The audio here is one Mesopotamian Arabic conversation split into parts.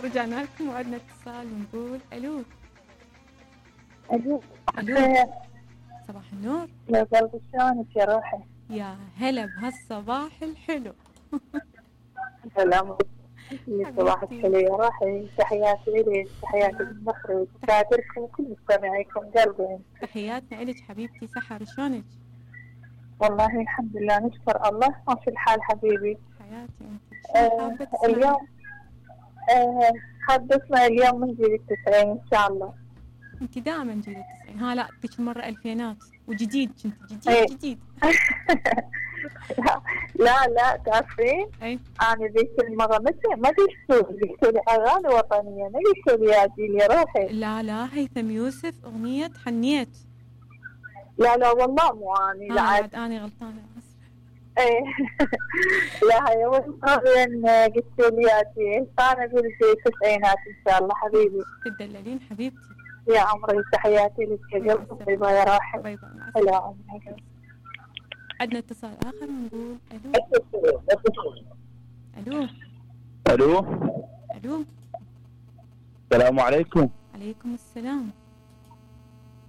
رجعنا لكم وعدنا اتصال ونقول الو. الو. صباح النور. يا قلبي شلونك يا روحي؟ يا هلا بهالصباح الحلو. سلام. صباحك حلو يا روحي. تحياتي لك، تحياتي للمخرج، تحياتكم وكل مستمعيكم قلبي. تحياتنا لك حبيبتي سحر، شلونك؟ والله الحمد لله نشكر الله ماشي الحال حبيبي. حياتي انت. اليوم حابة اسمع اليوم من جيل ال90 ان شاء الله. انت دائما جيل ال90. ها لا ذيك المرة الفينات وجديد، كنت جديد. لا تعرفين؟ انا ذيك المرة ما قلت لي اغاني وطنية، ما قلت لي يا جيل يا روحي. لا هيثم يوسف اغنية حنيت. لا والله مو اني. لا عاد اني غلطانة. ايه لا هي وين قلت لي يا جيل، فانا اقول في التسعينات ان شاء الله حبيبي. تدللين حبيبتي يا عمري. تحياتي لك يا قلبي. باي باي يا راحل. باي باي. هلا عمري. عندنا اتصال اخر ونقول الو. الو. الو. السلام عليكم. عليكم السلام.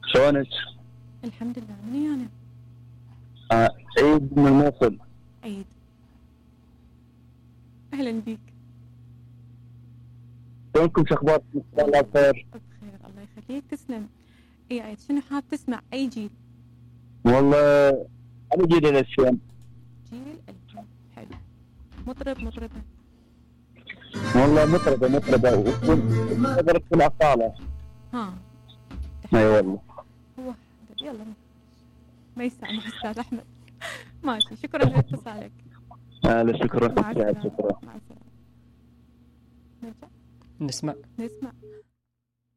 شلونك؟ الحمد لله. مني انا؟ عيد من الموصل. عيد، اهلا بيك. شلونكم؟ شو اخباركم؟ الله بخير. بخير الله يخليك. تسلم. اي عيد، شنو حاب تسمع؟ اي جيل؟ والله انا جيل ال2000. جيل 2000. حلو. مطربة. والله مطربة وقدرت في الأصالة. ها اي والله. هو يلا ما يسامح استاذ احمد. ماشي، شكرا لاتصالك. شكرا. مع السلامة. شكرا. مع السلامة. نرجع نسمع.